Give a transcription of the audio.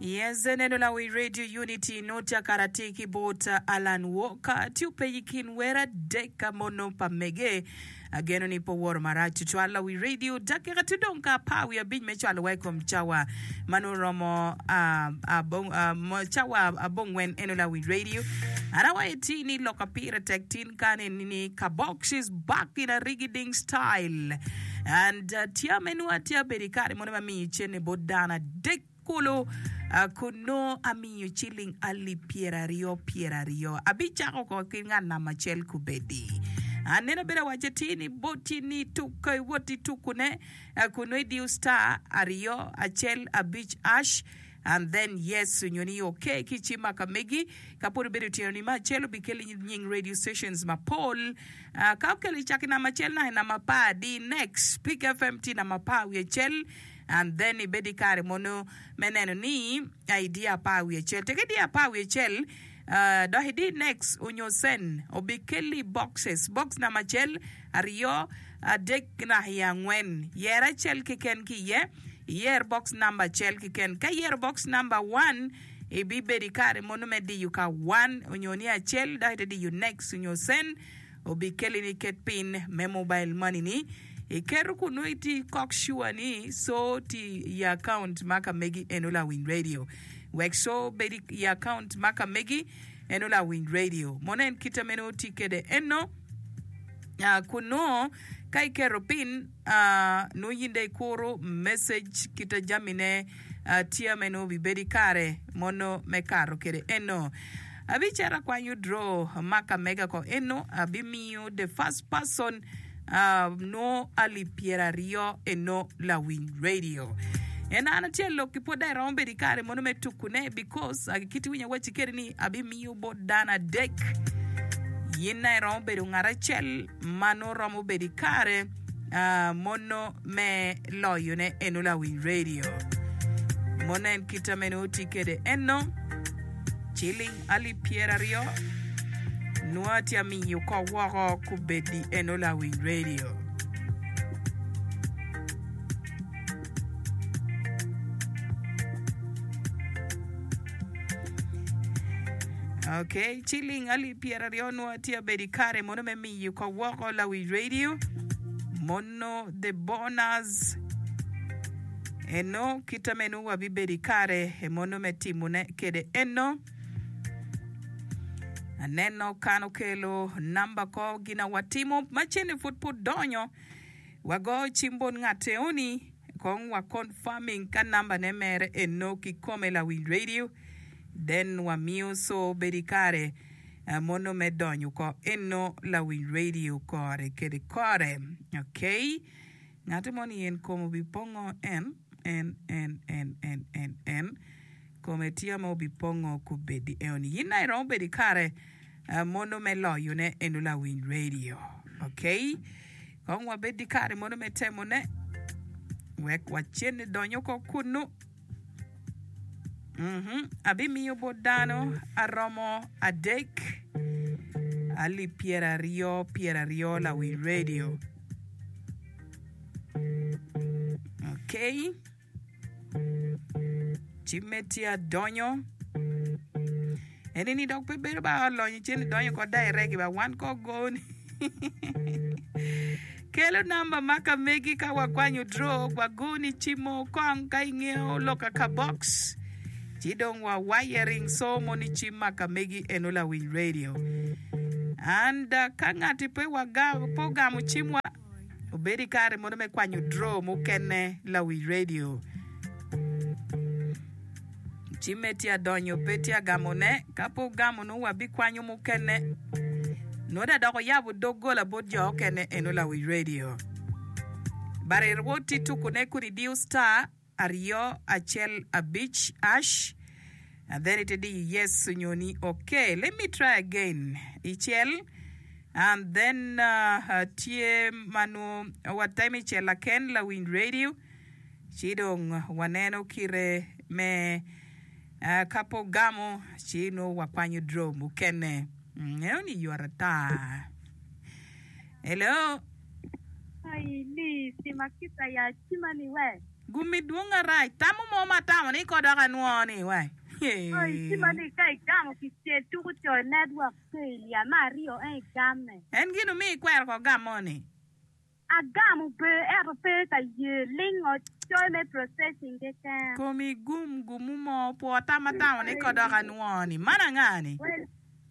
Yes, eneno lawi Radio Unity nota kara tye ki bot Alan Walker tye openyo i kin wer adek mono pa mege. Ageno ni pe oworo marac tutwal lawi radio dakika tye dong ka apar wiye abic me cwalo wa i kom cawa ma nongo romo cawa abongwen eno lawi radio. An awaco ti ni lok pire tek tin kan eni ni Kabox is back in a rigging style and tye me nwo atye abedo i kare mono ma miyo cene bot dano adek Kulu, kun nongo amiyo ciling alip pyeraryo pyeraryo. Abicako oko ki ngat namba acel kubedi. Aneno abedo awacce atir ni boti ni tuk ka iwot itukune kun nongo idiyo star aryo acel abic ash and then yes onyo ni ok ki cim ma ka megi. Ka pud ibedo otyeno ni me acel obikeli nying radio stations mapol. Ka okelo icako i namba acel naka i namba apar di next Peak FM tye i namba apar wiye acel. And then ibed i kare mono me neno ni idiyo apar wiye acel. Tek idiyo apar wiye acel, dok idi next onyo send, obikelli boxes. Box namba acel, aryo, adek naka i angwen. Yer acel keken ki iye. Iyer box namba acel keken. Ka iyero box namba one, ibibedo i kare mono me diyo ka one onyo ni acel dok ite diyo next onyo send. Obikeli ni ket pin me mobile money ni iketo kun nongo itye kok sure ni so tye i account ma ka megi eno lawiny radio wek so bed i account ma ka megi eno lawiny radio mono en kite meno tye kede eno kun nongo ka iketo pin nongo in dong ikuru message kite jami ne Tye me nongo obibedo i kare mono me kato kede eno. Abicito akwanyo draw ma ka mega ko eno abimiyo the first person nongo alip pyeraryo eno lawiny radio. En an atye lok ki pwod dong iromo bedo i kare mono me tuku ne because kit iwinyo awaci kede ni abimiyo bot dano adek yin na iromo bedo ngat acel ma nongo romo bedo i kare mono me loyone eno lawiny radio mono en kita meno tye kede eno ciling alip pyeraryo nwo tye amiyo ko woko kubedi eno lawiny radio. Ok, ciling alip pyeraryo nwo tye abedo i kare mono me miyo ko woko lawiny radio mono the bonus eno kita meno wabibedo i kare mono me timone kede eno aneno kan okelo namba ko gina watimo ma cene pud pud donyo wago cim bot ngat eoni kong wa confirming ka namba ne mere eno kikome lawiny radio then wamiyo so bedo i kare mono me donyo ko eno lawiny radio kore kede kore ok ngati moni en kome obipongo en en en en en en en kome tye ma obipongo kubedi eoni yin na iromo bedo ikare mono me loyone eno lawiny radio ok kong wabed i kare mono me temone wek wacen donyo ko kunu. Abimiyo bot dano aromo adek alip pyeraryo pyeraryo lawi redio. Okay. Cimme tye adonyo. Eni ni dok pe bedo ba olonyo cen idonyo ko direct ba wan ko goni. Kelo namba ma ka megi ka wakwanyo draw wagoni cimo kong ka ingeyo loka ka box ci dong wa wiring so moni cim ma ka megi eno lawiny radio and ka ngati pe waga pe ogamo cim wa obed i kare mono me kwanyo draw mukene lawiny radio. Cimme tye adonyo pe tye agamone, ka pe ogamo nongo wabikwanyo mukene. Nongo da dok oyabo doggola bot jo okene eno lawic radio. But irwot ti tukune kun idiyo star aryo acel abic ash and then ite diyo yes onyo ni ok. Let me try again. Icel and then tye ma nongo watemo icel laken lawiny radio. Ci dong waneno kite me ka pe ogamo ci nongo wakwanyo draw mukene. Eno ni yot ata. Hello. Ai ni sima kita ya cima ni we. Gumi dwong arac. Tamo mo ma atamo ni ko dok anwo ni wai. Oi cima ni ka igamo kicel tuku coyo network failure me aryo en igamme. En gin omiyo ikwero ko gamo ni. Agamo ber ento pe ka ye lingo coyo me processing keken. Komi gum gumu mo pwo tam atamo ni ko dok anwo ni. Man anga ni?